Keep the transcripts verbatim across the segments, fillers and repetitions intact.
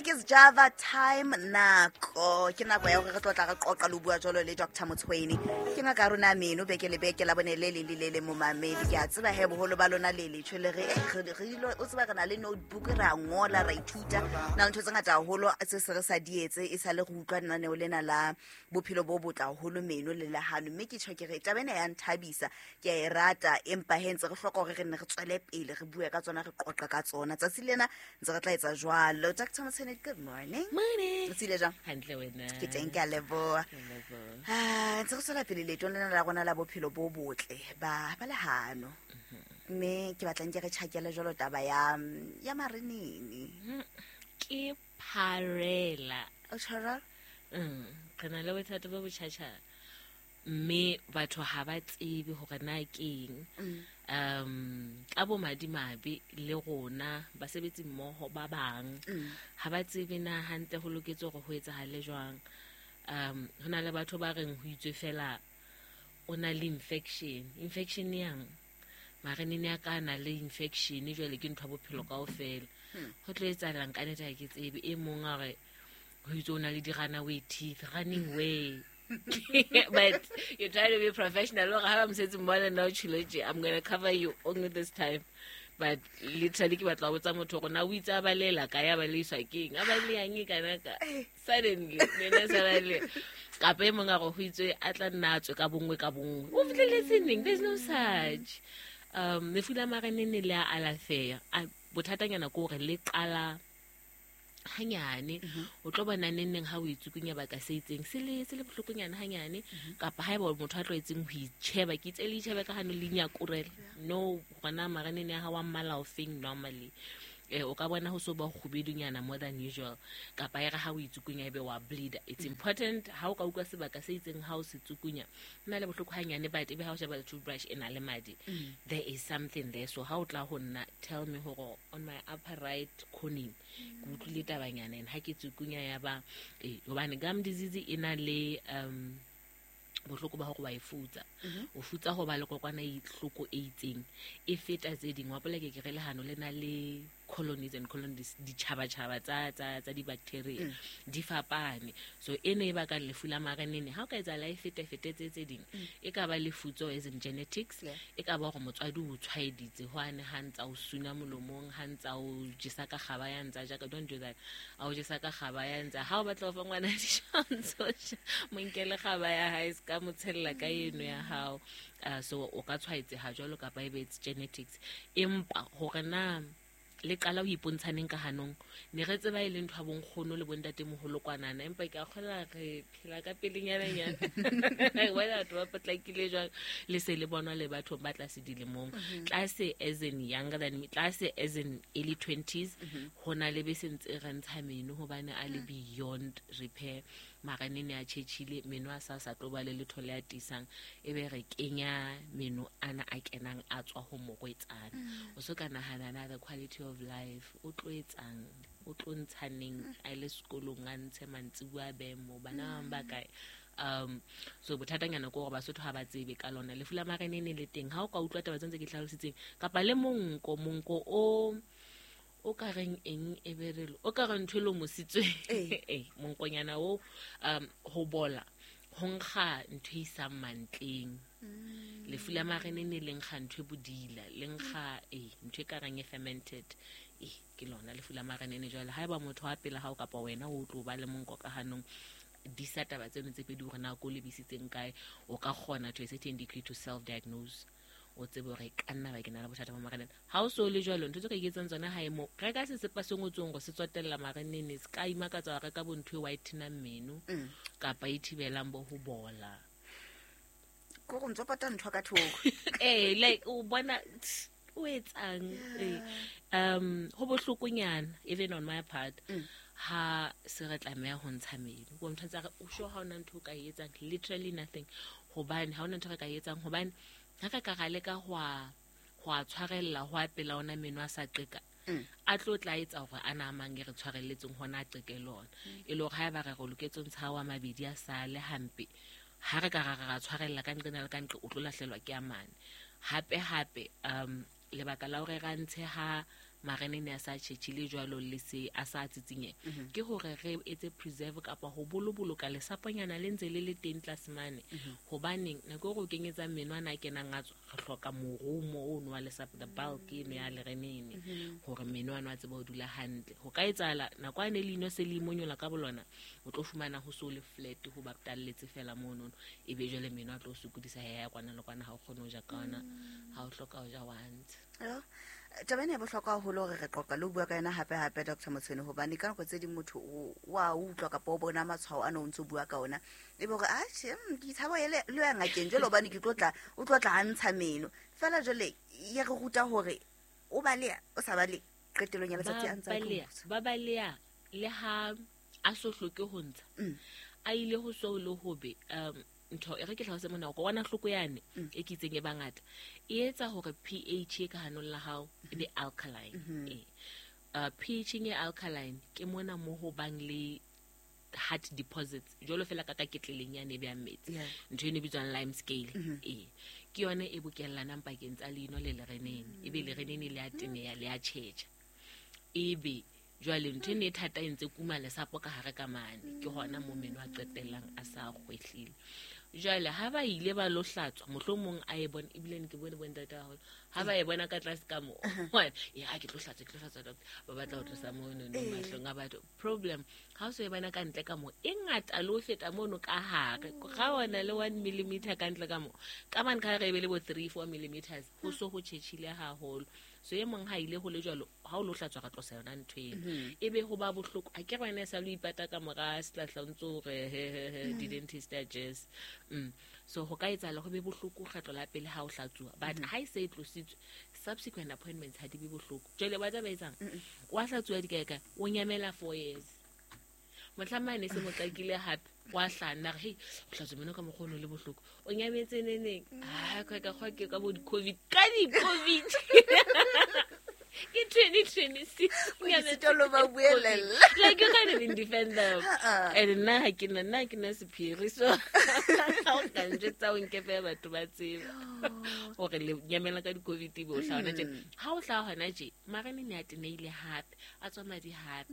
Ke Java time nako ke nako ya hore re tlo tla re qoqa le bua jwalo le Doctor Motshweni. Ke ngaka ya rona meno beke le beke la bone le le le le momamedi. Ke a tseba he boholo ba lona le letjho le re eh, re re dilo o tseba re na le notebook re a ngola ra ithuta na le ntho tse ngata haholo tse se re sa di etse e sa le re utlwa lenaneo lena la bophelo bo botle haholo meno le lehano. Mme ke tjho ke re taba ena ya nthabisa, ke a e rata, empa he ntse re hloka hore re nne re tswele pele re bue ka tsona, re qoqe ka tsona. Tsatsi lena ntse re tla etsa jwalo. Doctor Motshweni, good morning. Morning. O tsile jwang? Hantle wena. Ke teng, ke a leboha. Ke a leboha. Ah, ntse re tswela pele leetong lena la rona la bophelo bo botle ba ba lehano. Mme ke batlang ke re tjhakele jwalo taba ya ya marenene. Ke pharela. O tjho jwalo? Mm, re na le bothata bo botjhatjha mme batho ha ba tsebe hore na keng. Um ka bo madimabe le rona basebetsi mmoho ba bang ha ba tsebe na hantle ho loketse hore ho etsahale jwang. Um ho na le batho ba reng ho itswe fela o na le infection. Infection yang? Marenene a ka na le infection jwale ke ntho ya bophelo kaofela. Ho tlo etsahalang ka nnete ha ke tsebe. E mong a re ho itswe o na le di-runaway teeth, running way. But you try to be professional. Hore ha ba mosebetsi mmoho le nna o tjhilo tje, I'm gonna cover you only this time. But literally ke batla ho botsa motho hore na o itse a balela kae, a baleiswa keng, a baleyang e kana ka suddenly mena sa bale. Kapa e mong a re ho itswe a tla nna a tswe ka bonngwe ka bonngwe. O fihlelletse neng? There's no such. Um lefu la marenene le a alafeha. Bothatanyana ke hore le qala hanyane. O tlo bona neng neng ha o itsukunya baka se itseng se le se le bohlokonyana hanyane, kapa haeba motho a tlwaetseng ho itjheba, ke itse le itjhebe ka hano le nyakurela. No, hona marenene a hao a mmala o feng normally. Eh, o ka bona ho so ba kgubedunyana more than usual, kapa e re ha o itsukunya ebe wa bleed. It's important ha o ka utlwa sebaka se itseng ha o se tsukunya ho na le bohloko hanyane, but ebe ha o sheba toothbrush e na le madi, there is something there. So ha o tla ho nna, tell me hore on my upper right corner ke utlwile tabanyana, and ha ke tsukunya ya ba eh, hobane gum disease e na le um bohloko ba hore wa e futsa. O futsa ho ba le kokwana e hloko e itseng e feta tse ding. Wa pola ke ke re lehano le na le colonies and colonies, ditjhabatjhaba tsa tsa tsa di-bacteria di fapane. So ene e baka lefu la marenene ha o ka etsahala e fete fete tse tse ding, e ka ba lefutso as in genetics, Yeah. e ka ba hore motswadi o tshwaeditse hwane ha ntsa o suna molomong, ha ntsa o jesa ka kgaba ya ntsa jaka. Don't do that. A o jesa ka kgaba ya ntsa, ha o batla ho fa ngwana dijo, mo nkele kgaba ya hae, se ka mo tshella ka eno ya hao. Uh, so o ka tshwaetseha jwalo kapa ebe it's genetics. Empa hore na le qala ho ipontshaneng ka hanong, ne re tseba e le ntho ya bonkgono le bontatemoholo kwanana, empa ke a kgolwa re phela ka pelenyana-nyana. Re bona batho ba potlakile jwang, le se le bonwa le bathong ba tlase dilemong, tlase as in younger than me, tlase as in early twenties, ho na le be se ntse re ntsha meno hobane a le beyond repair. Marenene a tjhetjhile, meno a sa sa tlo ba le letho le a tiisang, ebe re kenya meno ana a kenang a tswa ho morwetsana. O so ka nahana na the quality of life o tlo etsang, o tlo ntshaneng a le sekolong, a ntshe mantsibuya a behe moo, bana ba bang ba kae? Um so bothatanyana ke hore Basotho ha ba tsebe ka lona lefu la marenene le teng. Ha o ka utlwa taba tse ntse ke hlalositseng, kapa le monko, monko o o ka reng eng e be re o ka re ntho e lomositsweng. Eh. Eh, monkonyana o, um ho bola ho nkga ntho e isang mantleng. Lefu la marenene le nkga ntho e bodila, le nkga eh ntho e ka reng e fermented. Eh, ke lona lefu la marenene. Jwale haeba motho wa pela hao kapa wena o tlo ba le monko ka hanong, disa taba tseno tse pedi hore na ko lebisitseng kae, o ka kgona to a certain degree to self diagnose, o tsebe hore e ka nna ba ke na le bothata ba marenene. Ha o so le jwalo, ntho tse ka iketsang tsona hae mo, reka sesepa se ngotsweng hore se tsotella marenene, se ka imakatsa wa reka bo ntho e whitenang meno kapa e thibelang bo ho bola. Ko go ntso pata ntho ka thoko. Eh, like o bona o etsang. Eh, um ho bohlokonyana even on my part ha se re tlameha ho ntsha meno. Bo motho a re o sure ha ona ntho o ka e etsang, literally nothing, hobane ha ona ntho re ka e etsang, hobane ha ka ka ra leka ho a, ho a tshwarella ho a pela ona meno a sa qeka, a tlo tla etsa hore a na mang e re tshwarelletseng hona a qeke le ona. E le hore haeba re re loketse ho ntsha wa mabedi a sale hampe, ha re ka ra ra tshwarella ka nqena le ka nqe, o tlo lahlelwa ke a mane. Hape hape, um lebaka la hore ra ntshe ha Marenene a sa tjhetjhile jwalo le se a sa tsitsinye ke hore re etse preserve kapa ho boloboloka lesaponyana le ntse le le teng tlase mane. Hobaneng nako e re o kenyetsa meno ana a kenang a tswa, re hloka morumo ono wa lesapo, the bulk eno ya lerenene, hore meno ano a tsebe ho dula hantle. Ho ka etsahala nako ane leino se le imonyola ka bolona, o tlo fumana ho so le flat, ho baptalletse fela monono, ebe jwale meno a tlo sokodisa ya ya kwana le kwana, ha o kgone ho ja ka ona, ha o hloka ho ja wa ntsha. Yo, taba ena e bohlokwa haholo hore re qoqa le ho bua ka yona hape hape, Doctor Motshweni, hobane ka nako tse ding motho o wa utlwa kapa o bona matshwao ana o ntso bua ka ona, e be hore atjhe, mm, ke tshaba ho le ya ngakeng jwale hobane ke tlo tla, o tlo tla a ntsha meno fela. Jwale ya re ruta hore o baleha o sa bale, qetellong ya letsatsi a ntse a tlo baleha ntsha. Ba baleha le ha a so hloke ho ntsha, Mm. a ile ho so le hobe. um ntho e re ke tlhalose mona, kokwanahloko yane e ke itseng e bangata e etsa hore pH e ka hanong la hao e be alkaline. Eh uh, pH e alkaline ke mona mo ho bang le hard deposits, jwalo fela ka ka ketleleng yane e behang metsi, Yeah. ntho eno e bitswang lime scale. Ee, ke yone e bokellanang pakeng tsa leino le lerenene, ebe lerenene le a teneya, le a tjhetjha, ebe jwale ntho eno e thata e ntse kuma lesapo ka hare ka mane, ke hona mo meno a qetellang a sa kgwehlile. Jwale ha ba ile ba lo hlatswa, mohlomong a e bone, ebile ne ke bone bontate haholo ha ba e bona ka tlase ka mo, ya ke tlo hlatswa, ke tlo hlatswa doctor, ba batla ho tlosa mono no mahlong a batho. Problem ha o so e bona ka ntle ka mo, e ngata le ho feta mono ka hare, ga ona le one millimeter ka ntle ka mo, ka mane ka hare e be le bo three four millimeters, ho so ho tjhetjhile haholo. So e mong ha ile ho le jwalo, ha o lo hlatswa, ra tlosa yona ntho eno, e be ho ba bohloko. A ke re wena e sa lo ipata ka mora sehlahla, o ntso o re he he he, di-dentist a jazz. mm. so ho ka etsahala ho be bohloko kgetlo la pele ha o hlatsuwa, but ha e se e tlositswe, subsequent appointments ha di be bohloko. Jwale wa taba etsang, wa hlatsuwa dikaekae, o nyamela four years, motlhamane se mo qakile hape, wa hlana re hei, o hlatswa meno ka mokgwa ono le bohloko, o nyametse neneng? A ka ka kgwa ke ka bo di-COVID, ka di-COVID ke twenty twenty-six. O ke sitwa le ho ba buelella. Like, you can't even defend them. Ha-ah. And nna ha ke na, nna ha ke na sephiri, so ha o ka njwetsa, o nkepe, batho ba tseba hore le nyamela ka di-COVID, ebe o hlaha hona tjena. Ha o hlaha hona tje, marenene a teneile hape, a tswa madi hape,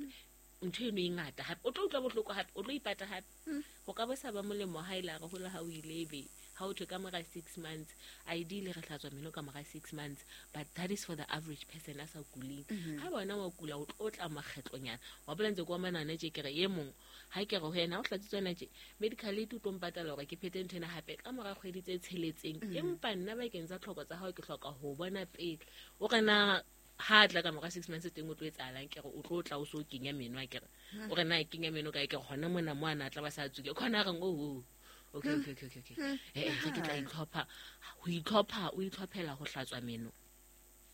ntho eno e ngata hape, o tlo utlwa bohloko hape, o tlo ipata hape. Ho ka bo sa ba molemo ha ile re hola ha o ile, ebe ha o thwe ka mora six months, ideally re hlatswa meno ka mora six months, but that is for the average person a sa kuleng. Ha bona wa kula, o tlo tla makgetlonyana wa bola ntse kwa manane tje. Ke re e mong ha ke re ho yena, ha o hlatsitswe yona tje, medical aid o tlo mpatala hore ke phete ntho ena hape ka mora kgwedi tse tsheletseng, empa nna bakeng tsa tlhoko tsa hao ke hloka ho bona pele. O re na ha tla ka mora six months teng o tlo etsahalang? Ke re o tlo tla o so kenya meno. A ke re o re na kenya meno kae? Ke re hona mona mo ana tla ba sa tswile khona. Reng oh, okay okay okay okay eh eh, re ke tla itlhopha ho itlhopha, o itlhophela ho hlatswa meno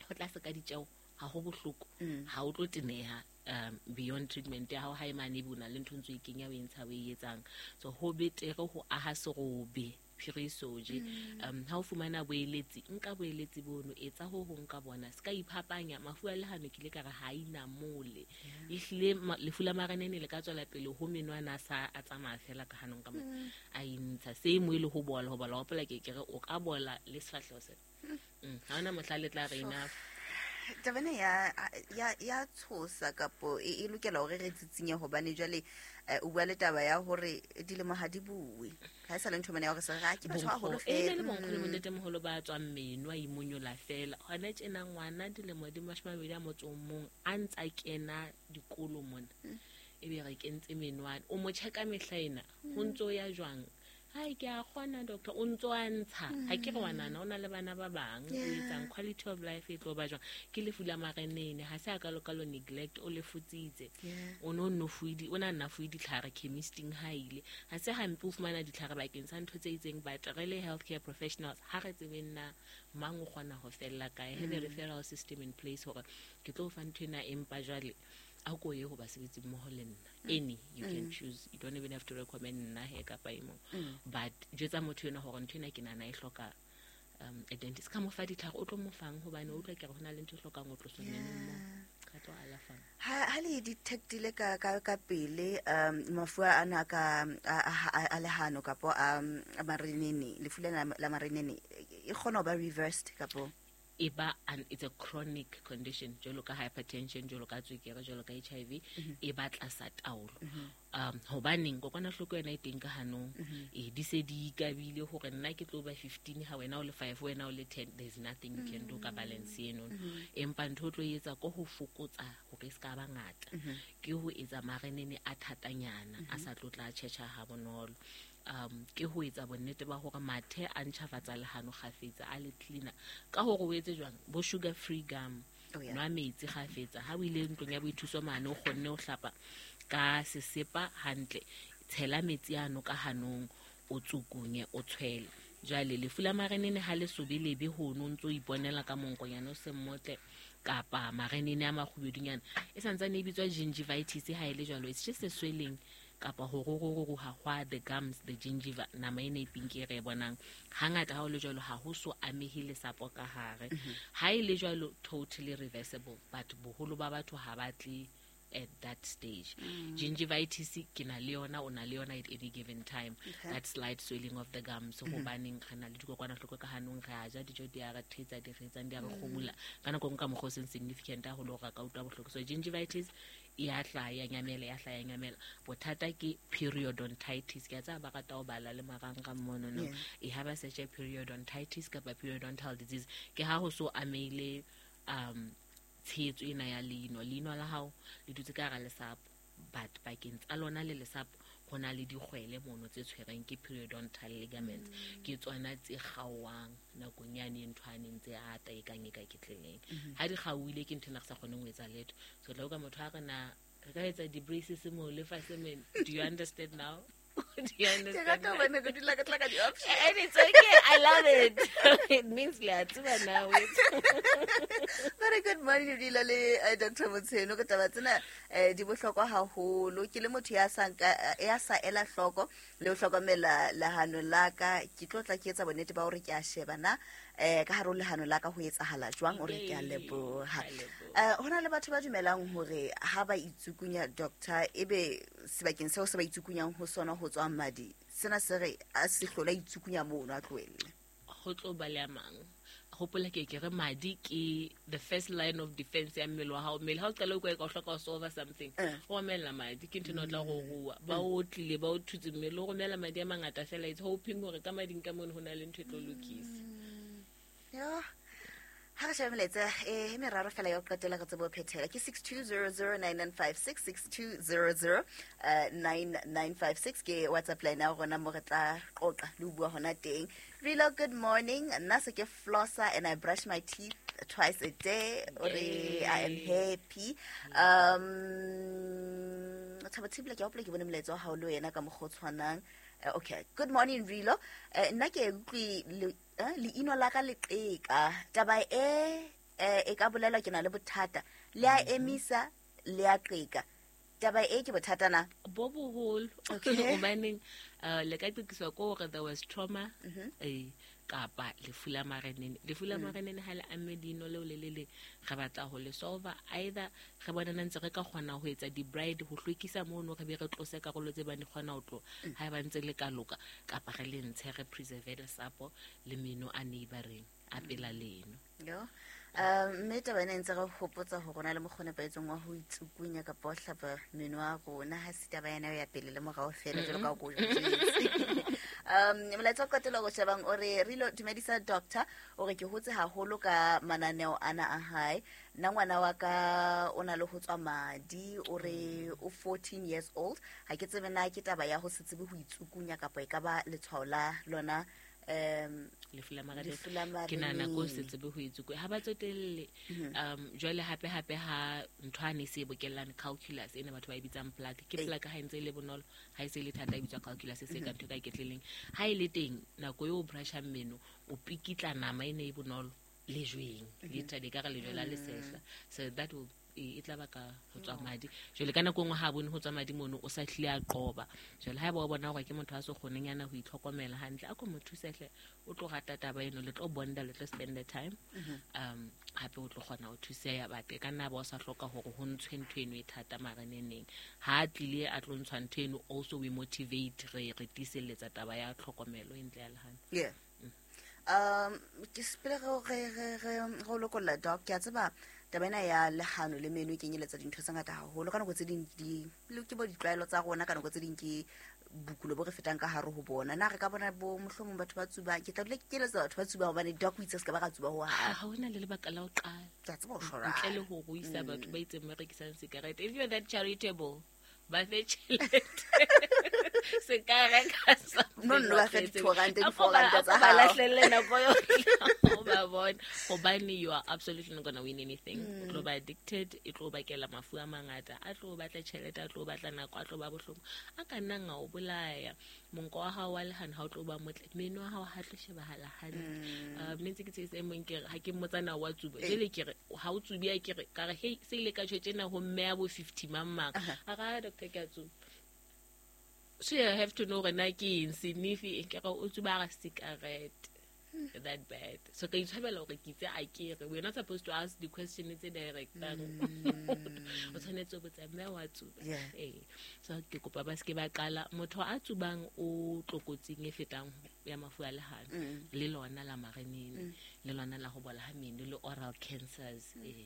ho tlase ka ditjeo, ha ho bohloko, ha o tlo teneha um beyond treatment ya hao. Ha e mane ebe o na le ntho ntse o e kenya, o e ntsha, o e etsang, so ho betere ho aha serobe phiriso je. um ha o fumana boeletsi, nka boeletsi bono, etsa ho hong ka bona, se ka iphapanya mafu a lehano. Ke ile ka re ha inamole, ehlile ma- lefu la marenene le ka tswela pele ho menwana a sa a tsamaya fela ka hanong ka mona, a intsha se mo e le ho bola, ho bola hopola ke ke re o ka bola le sefahleho sena. Mm, ha hona mohla le tla re enough. Taba ena ya ya ya tshosa kapo e e lokela hore re tsitsinye, hobane jwale eh, o bua le taba ya hore dilemo ha di bue, ha e sa le ntho mane ya hore se re, "Ah, ke batho ba baholo e ne le fela." bonkgono le bontatemoholo ba tswang meno a imonyola fela. Hona tjena ngwana dilemo di mashome a mabedi a motso o mong a ntsa kena dikolo mona, ebe re kentse menwana, o mo check-a mehla ena, ho ntso ya jwang? Hai, ke a kgona doctor, o ntso a ntsha. Ha ke re ngwanana o na le bana ba bang, o etsang? Quality of life e tlo ba jwang? Ke lefu la marenene, ha se a kalokalo neglect, o le futsitse, o no nno fuwe di- o na nna fuwe ditlhare chemisting ha ile. Ha se hampe o fumana ditlhare bakeng sa ntho tse itseng, but re le healthcare professionals ha re tsebeng na mang o kgona ho fella kae. Have a referral system in place hore ke tlo o fa ntho ena, empa jwale a ko ye ho basebetsi mmoho le nna. Any, you can choose, you don't even have to recommend nna he kapa e mong, but jwetsa motho ena hore ntho ena ke nahana e hloka um a dentist, ka mo fa ditlhare, o tlo mo fang, hobane o utlwa ke re ho na le ntho e hlokang ho tloswa menong moo, ka tlo alafang. Ha ha le detectile ka ka ka pele um mafu ana ka a a- a lehano kapo a a marenene, lefu lena la marenene, e kgona ho ba reversed kapo? E ba an it's a chronic condition jwalo ka hypertension, jwalo ka tswekere, jwalo ka H I V, e ba tlasa taolo. Um hobaneng kokwanahloko yona e teng ka hanong, e di se di ikabile hore nna ke tlo ba fifteen ha wena o le five, wena o le ten, there's nothing you can do ka balance eno. Empa ntho o tlo etsa ko ho fokotsa hore e ska ba ngata, ke ho etsa marenene a thatanyana a sa tlo tla tjhetjha ha bonolo. Um ke ho etsa bonnete ba hore mathe a ntjhafatsa lehano kgafetsa a le cleaner ka hore o etse jwang bo sugar free gum, Oh, yeah. nwa metsi kgafetsa. Ha o ile ntlong ya boithuso mane o kgonne ho hlapa ka sesepa hantle, tshela metsi ano ka hanong, o tsukunye o tshwele. Jwale lefu la marenene ha le sobe lebe hono ntso iponela ka monkonyana o se mmotle kapa marenene a makgubedunyana, e santsane e bitswa gingivitis ha e le jwalo, it's just a swelling kapa ho ruruha hwa the gums, the gingiva, nama ena e pinki e re e bonang. Hangata ha o le jwalo ha ho so amehe lesapo ka hare. Ha e le jwalo totally reversible, but boholo ba batho ha ba tle at that stage. Gingivitis ke na le yona, o na le yona at any given time. Okay. That slight swelling of the gums, hobaneng re na le dikokwanahloko ka hanong, re a ja dijo di a re thetsa, di re etsang, di a re kgomula. Ka nako e nngwe ka mokgwa o seng significant haholo hore re ka utlwa bohloko. So gingivitis e a hlaha, ya nyamela, ya hlaha, ya nyamela. Bothata ke periodontitis. Ke a tseba ba rata ho bala le marangrang mono, no. Yeah. E ha ba search periodontitis kapa periodontal disease, ke ha ho so ameile um tshehetso ena ya leino. Leino la hao le dutse ka hara lesapo, but pakeng tsa lona le lesapo ho na le dikgwele mono tse tshwereng ke periodontal ligaments. Ke tsona tse kgaohang nakong yane e ntho a neng tse ata e kang e ka ketleleng. Ha di kgaohile ke ntho ena re sa kgoneng ho etsa letho. So tla utlwa motho ha re na re ka etsa di-braces mo le fatshe men. Do you understand now? Do you Ke understand rata now? hobane re dula re tla ka di-option. And it's okay. I love it. It means le a tseba now. Very good morning, Rilo le, eh, Doctor Motshwene. Ka taba tsena, eh, di bohlokwa haholo. Ke le motho ya sa nka, eh, ya sa ela hloko le ho hlokomela lehano la ka. Ke tlo tla ke etsa bonnete ba hore ke a sheba na, eh, ka hare ho lehano la ka ho etsahala jwang, hore ke a leboha. Ke a leboha. Eh, ho na le batho ba dumelang hore ha ba itsukunya, doctor, ebe sebakeng seo se ba itsukunyang ho sona ho tswa madi, sena se re a se hlola itsukunya mono, a tlohelle. Ho tlo ba le a mang. Hopola ke ke re madi ke the first line of defense ya mmele wa hao. Mmele ha o qala o kwa ka o hloka ho solve something, Eh. o romela madi, ke ntho ena o tla go rua. Ba o tlile, ba o thutse mmele, o romela madi a mangata fela. It's hoping hore ka mading ka mono ho na le ntho e tlo lokisa. Yo. Ha re shebe melaetsa, eh, e meraro fela ya ho qetela re tsebe ho phethela. Ke six two zero zero nine nine five six, six two zero zero, eh, nine nine five six ke WhatsApp line ya rona mo re tla qoqa le ho bua hona teng. Rilo, good morning. Nna se ke flosser and I brush my teeth twice a day. Ore, I am happy. Um, Thabo Thibela, ke a hopola ke bone molaetsa wa hao le wena ka mokgwa o tshwanang. Eh, okay. Good morning, Rilo. Eh, nna ke utlwe le, eh, leino la ka le qeka. Taba e, eh, e ka bolelwa ke na le bothata. Le a emisa, le a qeka. Taba e ke bothata na? Bo boholo. Okay. Hobaneng, eh, le ka qekiswa ke hore there was trauma, Mm-hmm. eh, kapa lefu la marenene. Lefu la Mm. marenene ha le amme leino leo le le leng, re batla ho le solve-a. Either re bonana ntse re ka kgona ho etsa di-bride, ho hlwekisa mono, re be re tlose karolo tse bang di kgona ho tloha, Mm. ha eba ntse le ka loka, kapa re le ntshe, re preserve lesapo le meno a neighboring a pela leno. Yo. Um, mme taba ena e ntse re hopotsa hore ho na le mokgwa o nepahetseng wa ho itsukunya kapa ho hlapa meno a rona. Ha se taba ena ya pele le morao feela, jwalo ka ha ko jwetse. Um, molaetsa wa qetelo o shebang o re, Rilo, dumedisa doctor, o re ke hotse haholo ka mananeo ana a hae. Nna ngwana wa ka o na le ho tswa madi, o re o fourteen years old. Ha ke tsebe na ke taba ya ho se tsebe ho itsukunya kapa e ka ba letshwao la lona, um, Lefu la marenene. lefu la Ke nahana ko se marenene. tsebe ho itsukunya. Ha ba tsotelle. Mm-hmm. Um, jwale hape hape ha ntho ha ne se e bokellane calculus ena batho ba e bitsang plaque. Ke Ee. plaque ha e ntse e le bonolo, ha e se e le thata e bitswa calculus, e se ka Mm-hmm. ntho e ka iketleleng. Ha e le teng nako eo o brushang meno, o pikitla nama ena e bonolo lejweng, Mm-hmm. literally ka re lejwe la lesehla. So that will e, e tla baka ho tswa madi. Jwale ka nako e nngwe ha bone ho tswa madi mono, o sa hlile a qoba. Jwale haeba o bona hore ke motho a so kgoneng yana ho itlhokomela hantle, a ko mo thuse hle, o tlo rata taba eno, le tlo bonda, le tlo spend the time. Mm-hmm. Um, hape o tlo kgona ho thuseha, but e ka nna ba o sa hloka hore ho ntshwe ntho eno e thata mareneneng. Ha a tlile a tlo ntshwa ntho eno, also we motivate, re, re tiiselletsa taba ya tlhokomelo e ntle ya lehano. Yeah. Um ke sepele re re re re lokolla doc ke a tseba taba ena ya lehano le meno e kenyeletsa dintho tse ngata haholo ka nako tse ding di le ke bo ditlwaelo tsa rona ka nako tse ding ke bokulo bo re fetang ka hare ho bona na re ka bona bo mohlomong batho ba tsubang ke tla dula ke keletsa batho ba tsubang hobane doc o itse se ka ba ra tsuba ho ha ha hona le lebaka la ho qala ke a tseba ho shora ntle le ho ruisa batho ba itseng ba rekisang sigarete. If you're that charitable, ba fe tjhelete se ka reka no no ba fe di-two rand di-four rand tsa ba hao lahlelle nako yohle o ba bona hobane you are absolutely not gonna win anything. O tlo ba addicted, e tlo bakela mafu a mangata, a tlo batla tjhelete, a tlo batla nako, a tlo ba bohloko, a ka nnang a o bolaya. Monko wa hao wa lehano ha o tlo ba motle, meno wa hao ha tlo shebahala hantle. Um ne ntse ke tsebisa e mong ke re ha ke mmotsa na wa tsuba, jwale ke re ha o tsubi a ke re ka re hei se ile ka tjho tjena ho mme ya bo fifty mang mang a ra doctor ke a tsuba. So you have to know hore na ke eng sniffy ke re o tsuba ra cigarette that bad. So ka itshwabela hore ke itse a ke re we're not supposed to ask the question tse direct. O tshwanetse o botsa mme wa tsuba. Eh so ke kopa ba se ke ba qala motho a tsubang o tlokotsing e fetang ya mafu a lehano le lona la marenene le lona la ho bola ha meno le oral cancers. Eh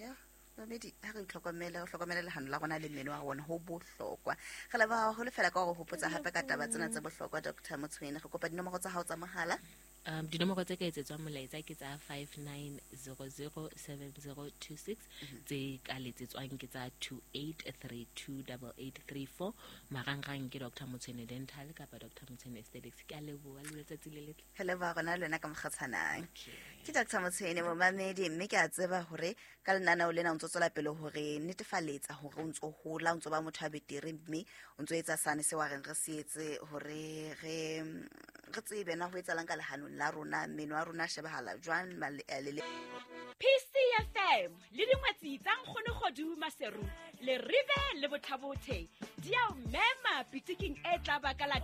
yeah Mamedi ha re itlhokomele re hlokomele lehano la rona le mmele wa rona ho bohlokwa. Re leboha haholo fela ka hore hopotsa hape ka taba tsena tse bohlokwa Doctor Motshwene. Re kopa dinomoro tsa hao tsa mohala. Um dinomoro tse ka etsetswang molaetsa ke tsa five nine zero zero seven zero two six, tse ka letsetswang ke tsa two eight three two eight eight three four. Marangrang ke Doctor Motshwene Dental kapa Doctor Motshwene Aesthetics. Ke a leboha le letsatsi le letle. Re leboha rona le wena ka mokgatshwanang. Ke Doctor Motshwene momamedi mme ke a tseba hore ka lenaneo lena o ntso tswela pele hore netefaletsa hore o ntso hola o ntso ba motho a betere mme o ntso etsa sane se wa reng re se etse hore re re tsebe na ho etsalang ka lehanong la rona meno a rona a shebahala jwang le P C F M le dingwetsi tsa Nkgono Kgodu Maseru le Rive le Bothabothe di a o mema pitiking e tla baka la